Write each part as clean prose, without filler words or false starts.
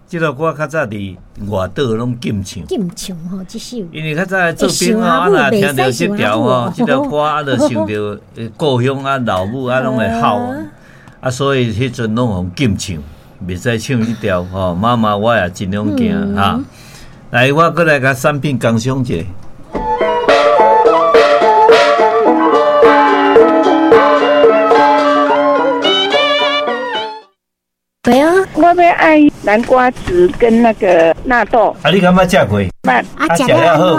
這條歌較早佇外島攏禁唱，禁唱吼，這首。因為較早做兵吼，啊若聽著這條吼，這條歌啊，就想著故鄉啊、老母啊，攏會哭啊，所以彼陣攏予禁唱，袂使唱這條吼。媽媽，我也盡量行哈。來，我閣來共產品工商一下。對啊，我欲愛南瓜子跟那個納豆。啊，你敢捌食過？捌。啊，食了好無？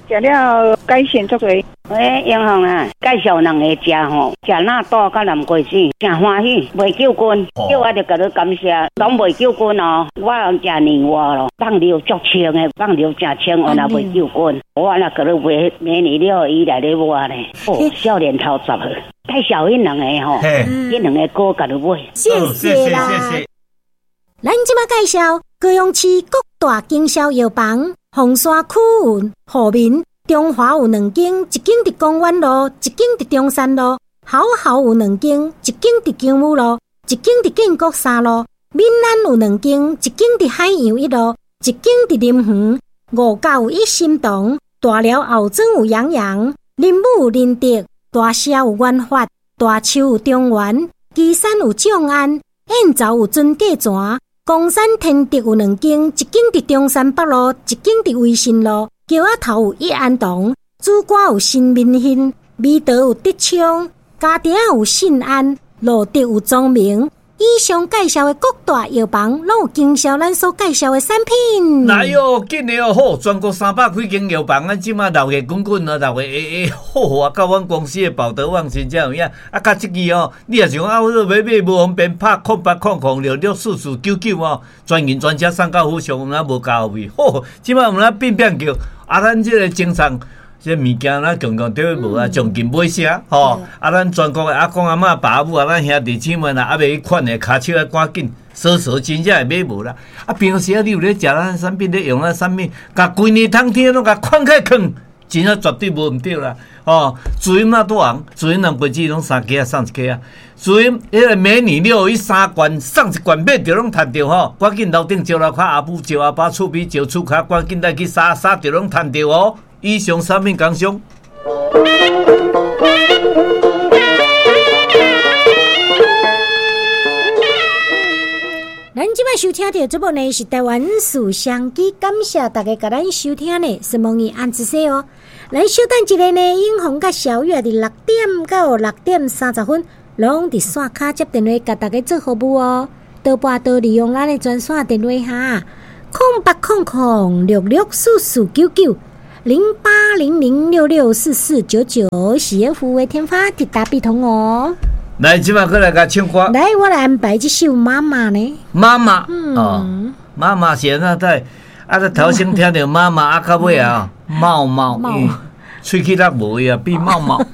食了改善足濟。欸，英雄啊，介紹兩个食吼，食納豆佮南瓜子，誠歡喜，袂救菌。叫我就共你感謝，攏袂救菌哦。我食年外咯，放尿足清的，放尿誠清，我若袂救菌。我若共你買美女了，伊來咧買呢。哦，少年頭十歲，介紹彼兩個吼，彼兩个歌共你買。謝謝啦。咱這馬介紹高雄市各大經銷藥房，鳳山區有富民、中華有兩間，一間佇公園路，一間佇中山路；好好有兩間，一間佇姜母路，一間佇建國三路；閩南有兩間，一間佇海洋一路，一間佇林園；五甲有一心堂，大寮后庄有楊洋，林武有林德，大社有元發，大樹有中原，旗山有眾安，燕巢有尊價泉。岡山天德有兩間，一間佇中山北路，一間佇維新路。橋仔頭有一安堂，主館有新民興，美德有德昌，家庭有信安，路德有莊明。以上介紹的各大藥房，攏有經銷咱所介紹的產品。來喲，緊的哦，好，全國300幾間藥房，咱這馬鬧熱滾滾啊，鬧熱會會好啊，到阮公司的寶德旺真正有影。啊，佮這支哦，你若想啊，我欲買買無方便，拍0800664499哦，專人專車送到府上，咱無加費。好，這馬有咱變變叫，啊，咱這個精神。這物件咱強強對無啊，將近買啥吼？啊，咱全國的阿公阿嬤、爸阿母啊，咱兄弟姊妹若猶未去款的，跤手愛趕緊，鎖鎖真正會買無啦。啊，平常時啊，你有咧食咱產品，咧用咱產品，共規年冬天攏共款起囥，真正絕對無毋對啦。吼，水嘛拄紅，水南瓜子攏三支仔送一支仔，水彼个美女六一三罐送一罐，買著攏趁著吼。趕緊樓頂招樓跤阿母招阿爸厝邊招厝跤，趕緊來去掃掃著攏趁著哦。以上產品工商。咱這擺收聽著節目呢，是台灣事商機，感謝大家共咱收聽呢，是問伊按子說哦。咱稍等一下呢，永鴻佮小玉佇6點到6點30分，攏佇線跤接電話，共大家做服務哦。多撥多利用咱的專線電話哈，0800664499。0800664499，是服務的天發直達必通哦。來，這馬閣來共唱歌。來，我來安排這首媽媽呢。媽媽，哦，媽媽是按怎在？啊，這頭先聽著媽媽，啊，到尾啊，貓貓，喙齒力無伊啊，變貓貓。